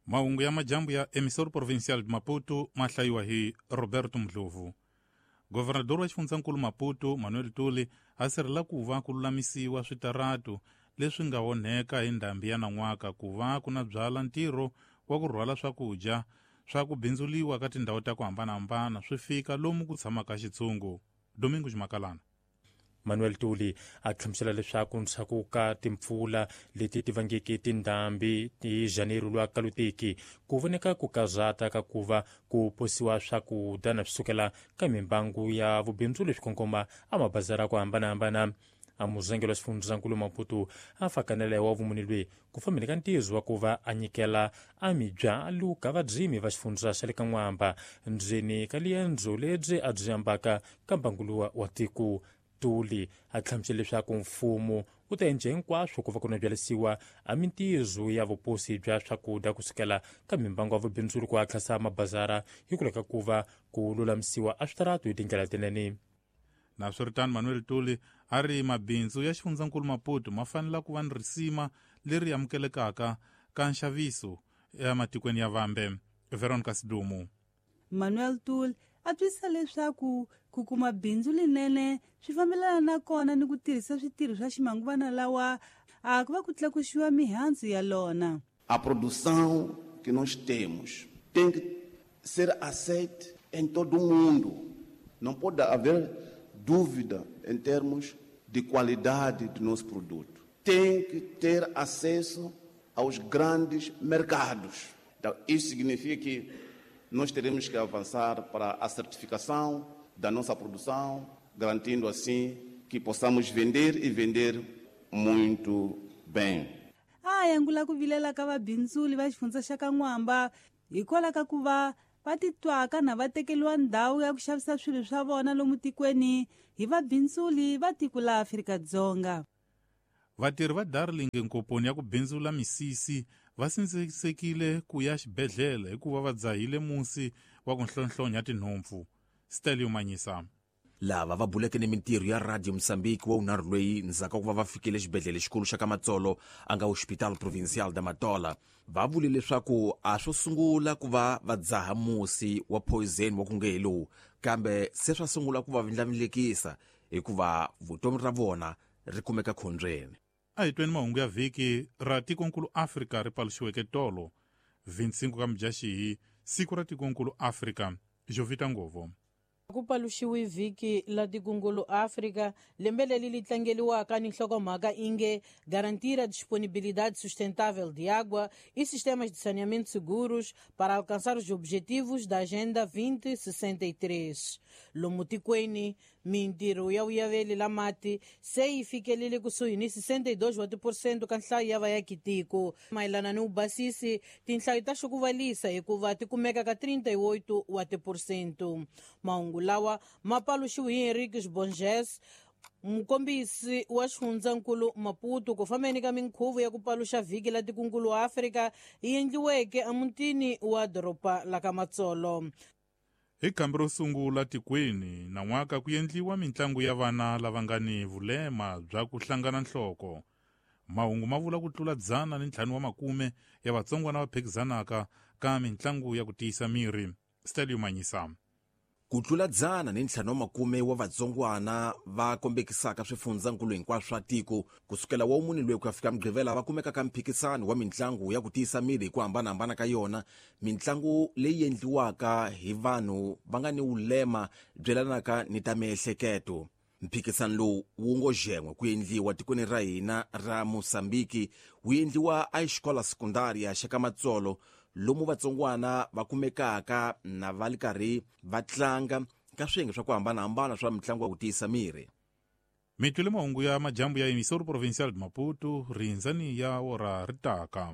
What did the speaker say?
Mahungu ya majambu ya Emissor Provincial de Maputo ma hlayiwa hi Roberto Mdlovu. Governador wa xifundzankulu Maputo Manuel Tuli a sirhela ku va ku lulamisiwa switaratu leswi nga onheka hi ndhambi ya nan'waka ku va ku na byala ntirho wa ku rhwala swakudya swa ku bindzuliwa ka tindhawu ta ku hambanahambana swi fika lomu ku tshamaka xitshungu. Domingo Ximakalana. Manuel Tuli a hlamusela leswaku ndzhaku ka timpfula leti ti vangeke tindhambi hi Janeiro lwa kalutiki ku voneka ku kazata ka ku va ku posiwa swakudya na swi sukela ka mimbangu ya vubindzu leswi kongoma a mabazara ku hambanahambana. A muzengelo wa xifundzankulu Maputo a fakanela wa vumuni lweyi ku fambeni ka ntizo wa ku va a nyikela a mibyalu ka vadzimi va xifundza xa le ka N'wamba ndzeni ka liendzo lebyi a byi ambaka ka mbanguluwa wa tiko. Tuli a hlamusela leswaku mfumo wu ta endla hinkwaswo ku va ku nabyalisiwa a mintizo ya vuposi bya swakudya kusukela ka mimbangu ya vubindzuri ku hatlasa mabazara hi ku leka ku va ku lulamisiwa a switaratu hi tindlela tinene. Naswiritano Manuel Tuli a ri mabindzu ya xifundzankulu Maputo ma fanele ku va ni risima leri amukelekaka ka nxaviso ematikweni ya vambe. Veronica Sidumu. Manuel Tuli a twisisa leswaku ku kuma bindzu linene swi fambelana na kona ni ku tirhisa switirho swa ximanguvana lawa a ku va ku tlakusiwa mihandzu ya lona. A produção que nós temos tem que ser aceite em todo o mundo. Não pode haver dúvida em termos de qualidade do nosso produto. Tem que ter acesso aos grandes mercados. Então, isso significa que nós teremos que avançar para a certificação da nossa produção, garantindo assim que possamos vender e vender muito bem. A yangula ku vilela ka vabindzuli va xifundza xa ka N'wamba hikwalaho ka ku va va titwaka na va tekeriwa ndhawu ya ku xavisa swilo swa vona lomu tikweni hi vabindzuli va tiko la Afrika-Dzonga. Vatirhi va Darling nkoponi ya ku bindzula misisi va sindzisekile ku ya xibedhlele hikuva va dzahile musi wa ku nhlonhlonya tinhompfu. Stelio Manyisa. Lava va buleke ni mintirho ya Radio Mozambique wa unharhu loyi ndzhaku ka ku va va fikile xibedhlele xikulu xa ka Matsolo a nga Hospital Provincial da Matola va vule leswaku a swo sungula ku va va dzaha musi wa poison wa ku nge hi lowu kambe se swa sungula ku va vindlavindlekisa hikuva vutomi ra vona ri kumeka khombyeni. A hi tweni mahungu ya vhiki ra tikonkulu Afrika ri paluxiweke tolo 25 ka Mudyaxihi, siku ra tikonkulu Afrika. Jovita Ngovo. Ku paluxiwe vhiki la tikungulu Afrika lembe leri li tlangeliwaka ni nhlokomhaka inge garantir a disponibilidade sustentável de água e sistemas de saneamento seguros para alcançar os objetivos da Agenda 2063. Lomu tikweni mintirho ya vuyaveli la mati se yi fikelele kusuhi ni 62 wa tiphesente ka nhlayo ya vayakitiko. Mayelana ni vubasisi tinhlayo ta xukuvalisa hikuva ti kumeka ka 38 wa tiphesente. Mahungu lawa ma paluxiwe hi Henriques Bonges, mukombisi wa xifundzankulu Maputo, ku fambeni ka minkhuvo ya ku paluxa vhiki la tikunkulu wa Afrika yi endliweke emutini wa doroba la ka Matsolo. Hi khambi ro sungula tikweni nan'waka ku endliwa mintlangu ya vana lava nga ni vulema bya ku hlangana nhloko. Mahungu ma vula ku tlula 150 ya vatsongwana va phikizanaka ka mintlangu ya ku tiyisa miri. Stelio Manyisa. Ku tlula 150 wa vatsongwana va kombekisaka swifundzankulu hinkwaswo swa tiko kusukela wa mune loyi ku ya fika Mugqivela va kumeka ka mphikisano wa mintlangu ya ku tiyisa miri hi ku hambanahambana ka yona, mintlangu leyi endliwaka hi vanhu va nga ni vulema byelanaka ni ta miehleketo. Mphikisano lowu wu ngo xen'we ku endliwa tikweni ra hina ra Mozambique wu endliwa a xikola sekundaria xa ka Matsolo lomu vatsongwana va kumekaka na va li karhi va tlanga ka swiyenge swa ku hambanahambana swa mitlangu ya ku tiyisa miri. Mi twile mahungu ya majambu ya Emissor Provincial de Maputo, rindzani ya ora ri taka.